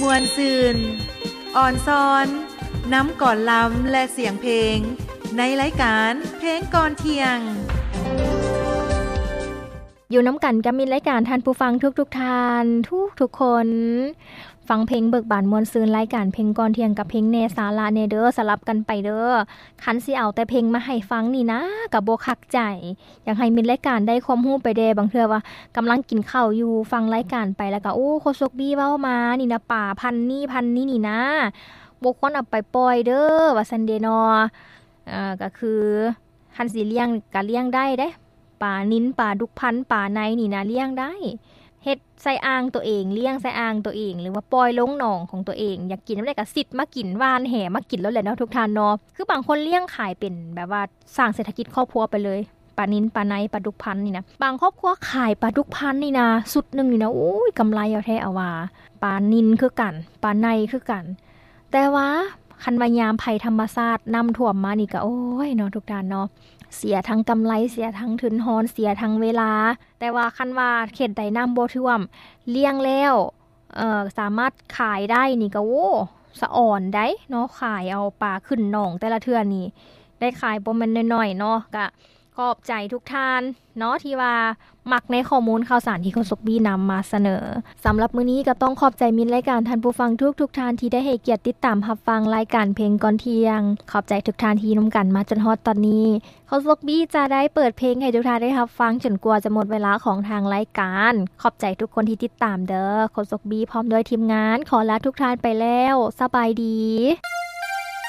ມ່ວນຊື່ນ, ອ່ອນຊອນ, ນຳກອນລຳ ແລະ ສຽງເພງ ໃນລາຍການເພງກ່ອນທ່ຽງ. ຢູ່ນຳກັນກັບມິດລາຍການທ່ານຜູ້ຟັງທຸກໆທ່ານ ທຸກໆຄົນ. ຟັງເພງເບີກບານມ່ວນຊື່ນ ລາຍການເພງກ່ອນທ່ຽງກັບເພງແດ່ສາລະແດ່ເດີ ສະຫຼັບກັນໄປເດີ. ຄັນຊິເອົາແຕ່ເພງມາໃຫ້ຟັງນີ້ນະ ກະບໍ່ຄັກໃຈ. ຢາກໃຫ້ມິດລາຍການໄດ້ຄວາມຮູ້ໄປແດ່. ບາງເທື່ອວ່າກຳລັງກິນເຂົ້າຢູ່ ຟັງລາຍການໄປແລ້ວກະ ໂອ້ ໂຄສົກບີເວົ້າມານີ້ນະ ປາພັນນີ້ພັນນີ້ນີ້ນະ ບໍ່ຄວນເອົາໄປປ່ອຍເດີ ວ່າຊັ້ນເດເນາະ. ເອີ ກະຄື ຄັນຊິລ້ຽງກະລ້ຽງໄດ້ເດ້ ປານິນ ປາດຸກພັນ ປາໄນນີ້ນະ ລ້ຽງໄດ້ ເຮັດໃສ່ອ່າງໂຕເອງ ລ້ຽງໃສ່ອ່າງໂຕເອງ ຫຼືວ່າປ່ອຍລົງໜອງຂອງໂຕເອງ. ຢາກກິນນຳໃດກະຊິດມາກິນ ຫວ່ານແຫມາກິນໂລດແຫຼະເນາະ ທຸກທ່ານເນາະ. ຄືບາງຄົນລ້ຽງຂາຍເປັນແບບວ່າ ສ້າງເສດຖະກິດຄອບຄົວໄປເລີຍ ປານິນ ປາໄນ ປາດຸກພັນນີ້ນະ. ບາງຄອບຄົວຂາຍປາດຸກພັນນີ້ນະ ຊຸດໜຶ່ງນີ້ນະ ໂອ້ຍ ກຳໄລເອົາແທ້ເອົາວ່າ. ປານິນຄືກັນ ປາໄນຄືກັນ ແຕ່ວ່າຄັນວ່າຍາມໄພທຳມະຊາດ ນ້ຳຖ້ວມມານີ້ກະ ໂອ້ຍເນາະ ທຸກທ່ານເນາະ ເສຍທັງກຳໄລ ເສຍທັງທຶນຮອນ ເສຍທັງເວລາ. ແຕ່ວ່າຄັນວ່າເຂດໃດນ້ຳບໍ່ຖ້ວມ ລ້ຽງແລ້ວ ເອີ ສາມາດຂາຍໄດ້ນີ້ກະ ໂອ້ ສະອອນໄດ໋ເນາະ. ຂາຍເອົາປາຂຶ້ນໜອງແຕ່ລະເທື່ອນີ້ ໄດ້ຂາຍບໍ່ແມ່ນໜ້ອຍໆເນາະ. ກະຂອບໃຈທຸກທ່ານເນາະ ທີ່ວ່າມັກໃນຂໍ້ມູນຂ່າວສານທີ່ໂຄສົກບີນຳມາສະເໜີ. ສຳລັບມື້ນີ້ກະຕ້ອງຂອບໃຈມິດລາຍການ ທ່ານຜູ້ຟັງທຸກໆທ່ານ ທີ່ໄດ້ໃຫ້ກຽດຕິດຕາມຮັບຟັງລາຍການເພງກ່ອນທ່ຽງ. ຂອບໃຈທຸກທ່ານທີ່ຢູ່ນຳກັນມາຈົນຮອດຕອນນີ້. ໂຄສົກບີຈະໄດ້ເປີດເພງໃຫ້ທຸກທ່ານໄດ້ຮັບຟັງຈົນກວ່າຈະໝົດເວລາຂອງທາງລາຍການ. ຂອບໃຈທຸກຄົນທີ່ຕິດຕາມເດີ. ໂຄສົກບີພ້ອມດ້ວຍທີມງານ ຂໍລາທຸກທ່ານໄປແລ້ວ. ສະບາຍດີ.